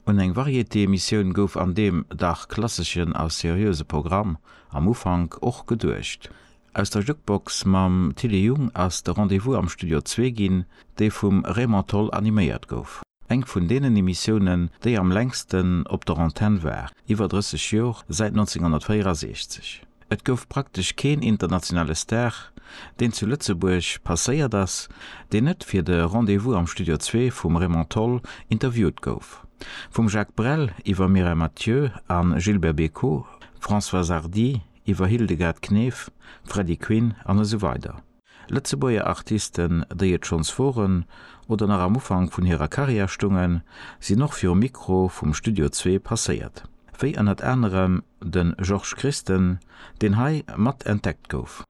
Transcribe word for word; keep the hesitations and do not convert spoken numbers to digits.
Un eng Varietéemissioun gouf an deem dach klasseschen a seriöse Programm am Ufank och geduecht. Aus der Jukebox mam Tilly Jung ass de Rendez-vous am Studio zwee ginn, dee vum Raymond Tholl animéiert gouf. Eng vun deenen Emissiounen, déi am längsten op der Antenn war, iwwer drësseg Joer, säit nonzénghonnertvéierasechzeg. Et gouf praktesch keen internationale Star, deen zu Lëtzebuerg passéiert ass, deen net fir de Rendez-vous am Studio zwee vum Raymond Tholl interviewt gouf. Vum Jacques Brel iwwer Mireille Mathieu a Gilbert Bécaud, Françoise Hardy iwwer Hildegard Knef, Freddy Quinn an esou weider. Lëtzebuerger Artisten, déi et schonns woren oder nach am Ufank vun hirer Karriär stungen, sinn och virum Mikro vum Studio zwee passéiert. Wéi ënnert anerem de Georges Christen, deen hei mat entdeckt gouf.